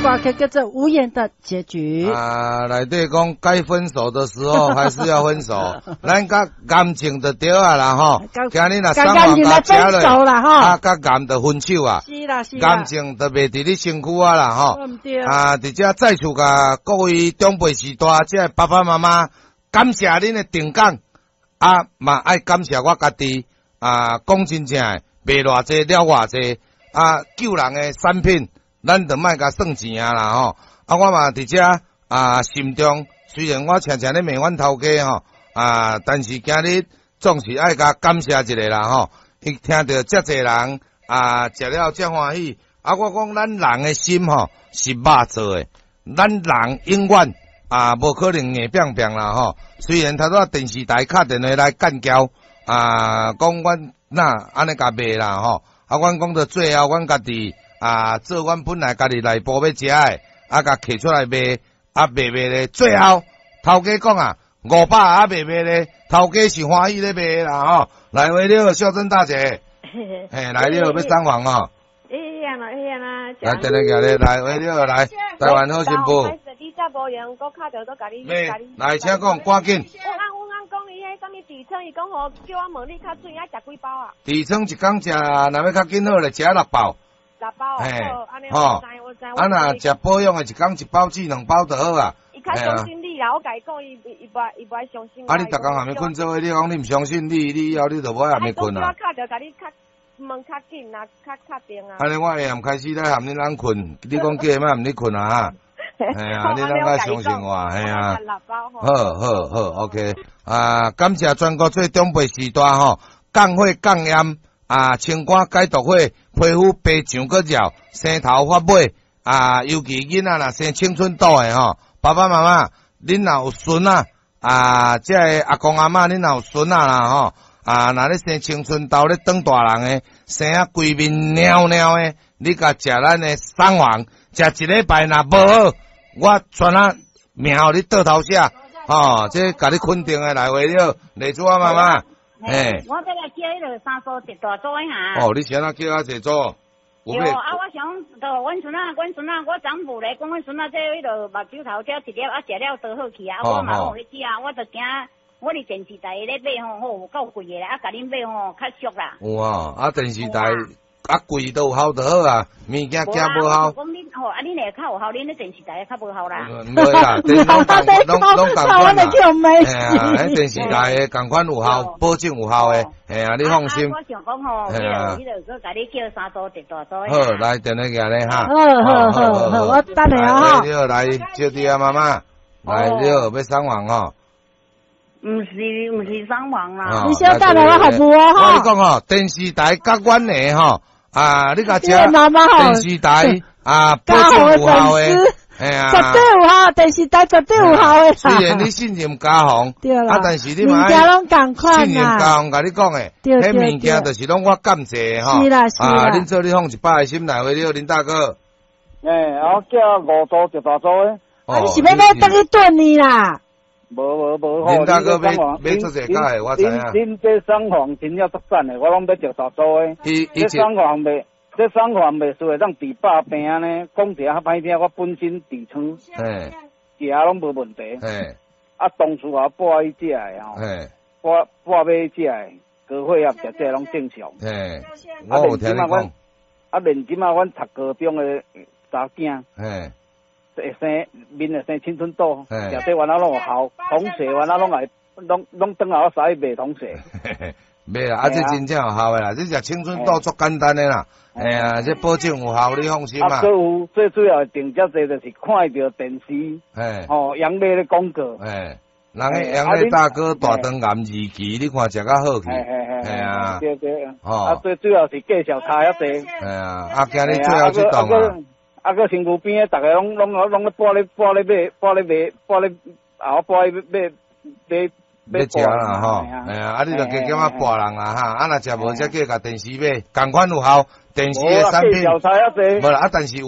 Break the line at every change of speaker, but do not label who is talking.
歌曲叫做《無言的結局》。
啊，內底講該分手的時候還是要分手，咱佮癌症就對啊啦吼。今日若送完共食落，啊，佮癌就分手啊。
是啦是啦。
癌症就袂佇你身軀啊啦吼。啊，佇遮再次共各位長輩序大，這个爸爸媽媽感謝恁的定崗，啊嘛愛感謝我家己啊，講真正的，賣偌濟了偌濟，啊，救人的產品，咱就莫共算錢啊啦吼。啊，我嘛佇遮啊，心中雖然我常常咧罵阮頭家吼，啊，但是今日總是愛共感謝一下啦吼。伊聽著遮濟人啊，食了遮歡喜，啊，我講咱人的心吼是肉做的，咱人永遠啊無可能硬拚拚啦吼。雖然頭拄仔電視台敲電話來幹譙啊，講阮哪按呢共賣啦吼，啊，阮講到最後，阮家己啊做阮本來家己內部欲食的，啊，共摕出來賣，啊賣賣咧，最後頭家講啊，500啊賣賣咧，頭家是歡喜咧賣啦吼。來，喂，你好，秀珍大姐，嘿，來你好，欲送房哦。
會啦會啦。
來，等下咧，來，喂，你好，來，台灣好新婦。
你才無閒，閣敲著都共你。
來，請講，趕緊。
我按講伊彼啥物痔瘡，伊講吼叫我問你較水愛食幾包啊？
痔瘡一工食，若欲較緊好咧，食六包。
六包。
嘿，吼。啊，若食保養的，一工一包至兩包就好啊。
伊較相信你啦，我共伊講，伊無愛相信我。
啊，你逐工菸伊睏做伙，你講你毋相信你，你以後你就無愛菸伊睏啊。
我敲著共你較問較緊啊，較確定啊。
按呢我下暗開始來菸恁翁睏，你講叫伊莫菸你睏啊哈。嘿啊，你啷個相信我？嘿啊。好好好，OK。啊，感謝全國做長輩序大吼，降火降炎啊，清肝解毒火，皮膚白上閣熱，生頭髮尾啊，尤其囡仔若生青春痘的吼，爸爸媽媽，恁若有孫仔啊，這个阿公阿嬤，恁若有孫仔啦吼，啊，若咧生青春痘咧長大人的，生啊規面蔫蔫的，你共食咱的桑黃，食一禮拜若無好，我全啊名予你倒頭寫，吼，這共你肯定的來話了，麗珠啊媽媽，嘿。
我欲來叫彼个三蘇特大組的哈。
哦，你是按怎叫遐濟組？
對，啊，我想，就阮孫仔，阮孫仔，我昨昏咧講，阮孫仔這彼个目睭頭這一粒啊，食了都好去啊，我嘛有去食，我就驚，我佇電視台咧買吼，吼有夠貴的，啊，共恁買吼較俗啦。
有啊，啊電視台啊貴都有效就好啊，物件驚無效。
講恁吼，啊恁會較有效，恁咧電視台較無效啦。
毋會啦，電視攏攏仝款啦。嘿啊，彼電視台的仝款有效，保證有效的。嘿啊，你放心。
我想講吼，彼个彼个，閣共你叫三組特大組。
好，來電話寄咧哈。
好好好好，我等下哈。
你好，來招弟啊媽媽，來你好，欲送房吼。
毋是毋是送房啦。
你先等下我服務哦。
我共你講吼，電視台佮阮的吼，啊，你共食電視台啊，保證有效的，嘿啊，
絕對有效，電視台絕對有效的。
雖然你信任嘉宏，啊，但是你嘛
物件攏仝款
信任嘉宏，共你講的，彼物件就是攏我感謝的吼。
是啦是啦。
啊，恁做你放100個心來話了，林大哥。
欸，我叫五組特大組的。
啊，你是欲買轉去燉呢啦？
無無無
吼，林大哥買買足濟架的，我知影。
恁這桑黃真正足讚的，我攏買特大組的。這桑黃賣，這桑黃賣輸會當治百病呢。講一下較歹聽，我本身痔瘡，食攏無問題。啊，當初我跋去食的吼，跋跋買食的，高血壓食這攏正常。
嘿，我有聽你講。
啊，連這馬阮讀高中的查囝。會生面會生青春痘，食這原來攏有效，同學原來攏會攏攏轉來我使去賣同學。
袂啦，啊，這真正有效的啦，這食青春痘足簡單的啦，哎呀，這保證有效，你放心啦。
啊，閣有最主要定遮濟就是看著電視，吼，楊麗咧廣告。
嘿，人个楊麗大哥大腸癌二期，你看食較好去。嘿啊。
對對。吼。啊，最主要是介紹差遐濟。
嘿啊，啊，今日最後這檔啊。
啊，閣身軀邊的，逐个攏攏攏咧跋咧跋咧買，跋咧買，跋咧後跋咧買買
買食啦吼，嘿啊，啊你就加減仔跋人啦哈，啊若食無才叫共電視買，仝款有效，電視的產品，無啦，啊但是。